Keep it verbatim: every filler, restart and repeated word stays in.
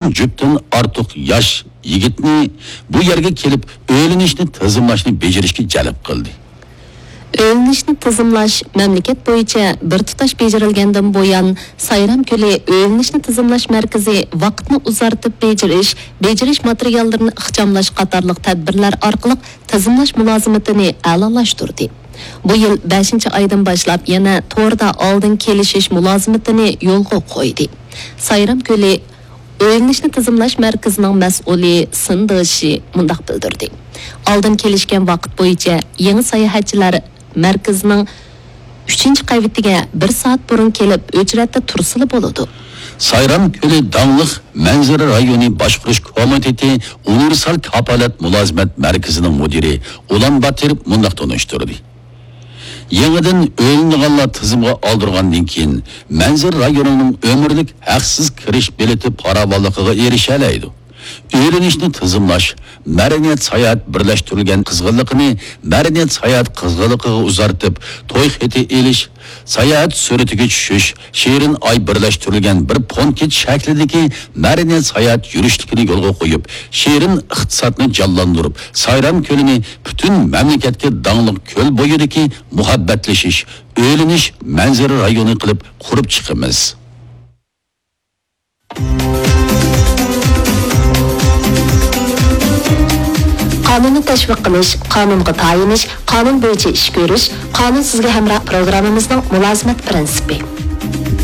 جۈپتىن ئارتۇق ياش يىگىتنى بۇ يەرگە كېلىپ ئۆيلىنىشنى تىزىملاشنى بېجىرىشكە جەلپ قىلدى. ئۆيلىنىشنى تىزىملاش مەملىكەت بويىچە بىر تۇتاش بېجىرىلگەندىن بۇيان، سايرام كۆلى ئۆيلىنىشنى تىزىملاش مەركىزى ۋاقىتنى ئۇزارتىپ بېجىرىش، بېجىرىش ماتېرىياللىرىنى ئىخچاملاش قاتارلىق تەدبىرلەر ئارقىلىق تىزىملاش مۇلازىمىتىنى ئەلالاشتۇردى. بۇ يىل بەشىنچى ئايدىن باشلاپ يەنە توردا ئالدىن كېلىشىش مۇلازىمىتىنى يولغا قويدى. سايرام كۆلى ئۆيلىنىشنى تىزىملاش مەركىزىنىڭ مەسئۇلى سىن دېشى مۇنداق بىلدۈردى: ئالدىن كېلىشكەن ۋاقىت بويىچە يېڭى ساياھەتچىلەر مەركىزىنىڭ ئۈچىنچى قەۋىتىگە بىر سائەت بۇرۇن كېلىپ، ئۆچرەتتە تۇرسىلا بولىدۇ. سايرام كۆلى داڭلىق مەنزىرە رايونى باشقۇرۇش كومىتېتى ئۇنىۋېرسال كاپالەت مۇلازىمەت مەركىزىنىڭ مۇدىرى ئۇلان باتىر مۇنداق تونۇشتۇردى: يېڭىدىن ئۆيلىنىدىغانلار تىزىمغا ئالدۇرغاندىن كېيىن، مەنزىرە رايونىنىڭ ئۆمۈرلۈك ھەقسىز كىرىش بېلىتى پاراۋانلىقىغا ئېرىشەلەيدۇ. ئۆيلىنىشنى تىزىملاش، مەدەنىيەت ساياھەت بىرلەشتۈرۈلگەن قىزغىنلىقىنى مەدەنىيەت ساياھەت قىزغىنلىقىغا ئۇزارتىپ، توي خېتى ئېلىش، ساياھەت سۈرىتىگە چۈشۈش، شېرىن ئاي بىرلەشتۈرۈلگەن بىر پونكىت شەكلىدىكى مەدەنىيەت ساياھەت يۈرۈشلۈكىنى يولغا قويۇپ، شېرىن ئىقتىسادنى جانلاندۇرۇپ، سايرام كۆلىنى پۈتۈن مەملىكەتكە داڭلىق كۆل بويىدىكى مۇھەببەتلىشىش، ئۆيلىنىش مەنزىرە رايونى قىلىپ قۇرۇپ چىقىمىز. قانۇننى تەشۋىق قىلىش، قانۇنغا تايىنىش، قانۇن بويىچە ئىش كۆرۈش، قانۇن سىزگە ھەمراھ پروگراممىمىزنىڭ مۇلازىمەت پىرىنسىپى.